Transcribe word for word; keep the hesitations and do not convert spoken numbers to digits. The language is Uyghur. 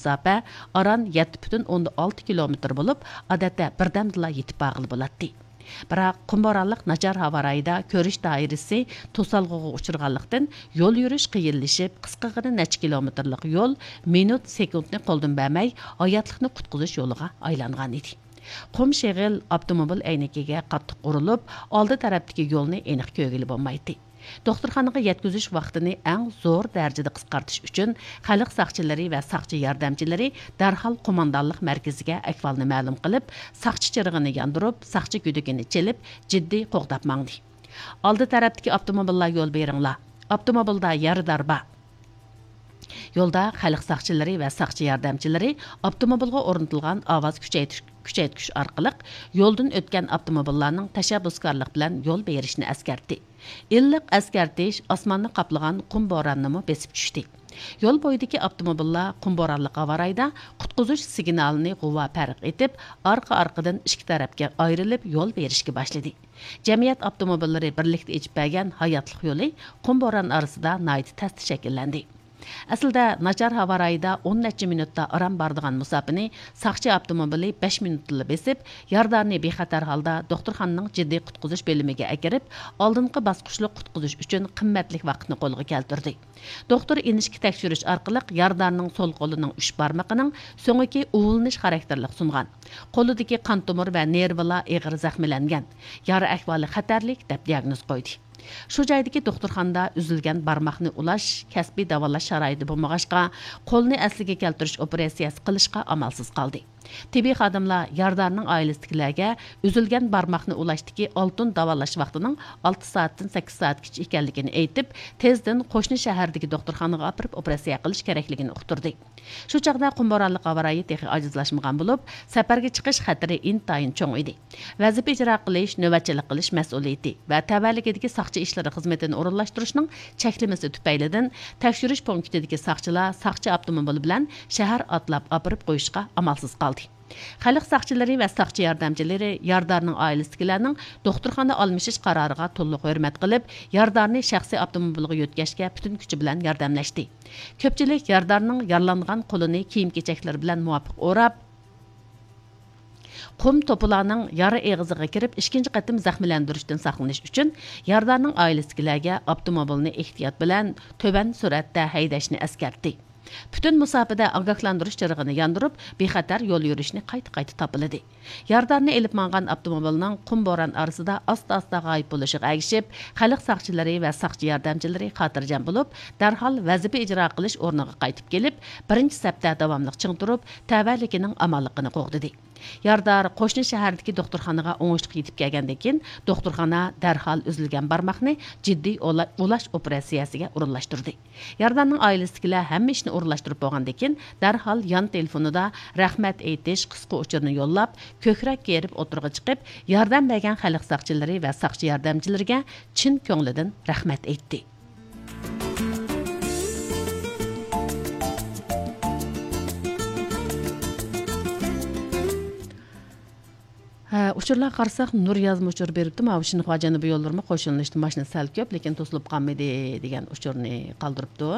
مۇساپە ئاران يەتتە پۈتۈن ئوندىن ئالتە كىلومېتىر بولۇپ، ئادەتتە بىردەمدىلا يېتىپ بارغىلى بولاتتى. بىراق، قۇم بورانلىق ناچار ھاۋا رايىدا كۆرۈش دائىرىسى توسالغۇغا ئۇچرىغانلىقتىن، يول يۈرۈش قىيىنلىشىپ، قىسقىغىنە نەچچە كىلومېتىرلىق يول مىنۇت، سېكۇنتنى قولدىن بەرمەي، ھاياتلىقنى قۇتقۇزۇش يولىغا ئايلانغانىدى. قۇم شېغىل ئاپتوموبىل ئەينىكىگە قاتتىق ئۇرۇلۇپ، ئالدى تەرەپتىكى يولنى ئېنىق كۆرگىلى بولمايتتى. دوختۇرخانىغا يەتكۈزۈش ۋاقتىنى ئەڭ زور دەرىجىدە قىسقارتىش ئۈچۈن، خەلق ساقچىلىرى ۋە ساقچى ياردەمچىلىرى دەرھال قوماندانلىق مەركىزىگە ئەھۋالنى مەلۇم قىلىپ، ساقچى چىرىغىنى ياندۇرۇپ، ساقچى گۈدۈكىنى چېلىپ، جىددىي قوغداپ ماڭدى. ئالدى تەرەپتىكى ئاپتوموبىللار يول بېرىڭلار! ئاپتوموبىلدا يارىدار بار! يولدا خەلق ساقچىلىرى ۋە ساقچى ياردەمچىلىرى ئاپتوموبىلغا ئورنىتىلغان ئاۋاز كۈچەيتىش، كۈچەيتكۈچ ئارقىلىق يولدىن ئۆتكەن ئاپتوموبىللارنىڭ تەشەببۇسكارلىق بىلەن يول بېرىشىنى ئەسكەرتتى. ئىللىق ئەسكەرتىش ئاسماننى قاپلىغان قۇم بورانىنىمۇ بېسىپ چۈشتى. يول بويىدىكى ئاپتوموبىللار قۇم بورانلىق ھاۋا رايىدا قۇتقۇزۇش سىگنالىنى غۇۋا پەرق ئېتىپ، ئارقا-ئارقىدىن ئىككى تەرەپكە ئايرىلىپ يول بېرىشكە باشلىدى. جەمئىيەت ئاپتوموبىللىرى بىرلىكتە ئېچىپ بەرگەن ھاياتلىق يولى قۇم بوران ئارىسىدا ناھايىتى تەستە شەكىللەندى. ئەسلىدە، ناچار ھاۋا رايىدا ئون نەچچە مىنۇتتا ئاران بارىدىغان مۇساپىنى ساقچى ئاپتوموبىلى بەش مىنۇتتىلا بېسىپ، يارىدارنى بىخەتەر ھالدا دوختۇرخانىنىڭ جىددىي قۇتقۇزۇش بۆلۈمىگە ئەكىرىپ، ئالدىنقى باسقۇچلۇق قۇتقۇزۇش ئۈچۈن قىممەتلىك ۋاقىتنى قولغا كەلتۈردى. دوختۇر ئىنچىكە تەكشۈرۈش ئارقىلىق يارىدارنىڭ سول قولىنىڭ ئۈچ بارمىقىنىڭ سۆڭىكى ئۇۋۇلىنىش خاراكتېرلىك سۇنغان. قولىدىكى قان تومۇر ۋە نېرۋىلار ئېغىر زەخىملەنگەن. يارا ئەھۋالى خەتەرلىك، دەپ دىياگنوز قويدى. شۇ جايدىكى دوختۇرخانىدا ئۈزۈلگەن بارماقنى ئۇلاش كەسپىي داۋالاش شارائىتى بولمىغاچقا، قولنى ئەسلىگە كەلتۈرۈش ئوپېراتسىيەسى قىلىشقا ئامالسىز قالدى. تېببىي خادىملار يارىدارنىڭ ئائىلىسىدىكىلەرگە ئۈزۈلگەن بارماقنى ئۇلاشتىكى ئالتۇن داۋالاش ۋاقتىنىڭ ئالتە سائەتتىن سەككىز سائەتكىچە ئىكەنلىكىنى ئېيتىپ، تېزدىن قوشنا شەھەردىكى دوختۇرخانىغا ئاپىرىپ ئوپېراتسىيە قىلىش كېرەكلىكىنى ئۇقتۇردى. شۇ چاغدا قۇم بورانلىق ھاۋا رايى تېخى ئاجىزلاشمىغان بولۇپ، سەپەرگە چىقىش خەتىرى ئىنتايىن چوڭ ئىدى. ۋەزىپە ئىجرا قىلىش، نۆۋەتچىلىك قىلىش مەسئۇلىيىتى ۋە تەۋەلىكىدىكى ساقچى ئىشلىرى خىزمىتىنى ئورۇنلاشتۇرۇشنىڭ چەكلىمىسى تۈپەيلىدىن، تەكشۈرۈش پونكىتىدىكى ساقچىلار ساقچى ئاپتوموبىلى بىلەن شەھەر ئاتلاپ ئاپىرىپ قويۇشقا ئامالسىز قالدى. خەلق ساقچىلىرى ۋە ساقچى ياردەمچىلىرى يارىدارنىڭ ئائىلىسىدىكىلەرنىڭ دوختۇرخانا ئالمىشىش قارارىغا تولۇق ھۆرمەت قىلىپ، يارىدارنى شەخسىي ئاپتوموبىلغا يۆتكەشكە پۈتۈن كۈچى بىلەن ياردەملەشتى. كۆپچىلىك يارىدارنىڭ يارىلانغان قولىنى كىيىم-كېچەكلىرى بىلەن مۇۋاپىق ئوراپ، قۇم توپىلارنىڭ يارا ئېغىزىغا كىرىپ، ئىككىنچى قېتىم زەخىملەندۈرۈشتىن ساقلىنىش ئۈچۈن، يارىدارنىڭ ئائىلىسىدىكىلەرگە ئاپتوموبىلنى ئېھتىيات بىلەن تۆۋەن سۈرئەتتە ھەيدەشنى ئەسكەرتتى. پۈتۈن مۇساپىدە ئاگاھلاندۇرۇش چىرىغىنى ياندۇرۇپ، بىخەتەر يول يۈرۈشنى قايتا-قايتا تاپىلىدى. يارىدارنى ئېلىپ ماڭغان ئاپتوموبىلنىڭ قۇم بوران ئارىسىدا ئاستا-ئاستا غايىب بولۇشىغا ئەگىشىپ، خەلق ساقچىلىرى ۋە ساقچى ياردەمچىلىرى خاتىرجەم بولۇپ، دەرھال ۋەزىپە ئىجرا قىلىش ئورنىغا قايتىپ كېلىپ، بىرىنچى سەپتە داۋاملىق چىڭ تۇرۇپ، تەۋەلىكىنىڭ ئامانلىقىنى قوغدىدى. يارىدار قوشنا شەھەردىكى دوختۇرخانىغا ئوڭۇشلۇق يېتىپ كەلگەندىن كېيىن، دوختۇرخانا دەرھال ئۈزۈلگەن بارماقنى جىددىي ئولا-، ئۇلاش ئوپېراتسىيەسىگە ئورۇنلاشتۇردى. يارىدارنىڭ ئائىلىسىدىكىلەر ھەممە ئىشنى ئورۇنلاشتۇرۇپ بولغاندىن كېيىن، دەرھال يان تېلېفونىدا رەھمەت ئېيتىش قىسقا ئۇچۇرىنى يوللاپ، كۆكرەك كېرىپ ئوتتۇرىغا چىقىپ، ياردەم بەرگەن خەلق ساقچىلىرى ۋە ساقچى ياردەمچىلىرىگە چىن كۆڭلىدىن رەھمەت ئېيتتى. ھە، ئۇچۇرلارغا قارىساق، نۇر يازما ئۇچۇر بېرىپتۇ. ماۋۇ شىنخۇا جەنۇبىي يوللىرىمۇ قوشۇلۇنۇشتا ماشىنا سەل كۆپ، لېكىن توسۇلۇپ قالمىدى، دېگەن ئۇچۇرنى قالدۇرۇپتۇ.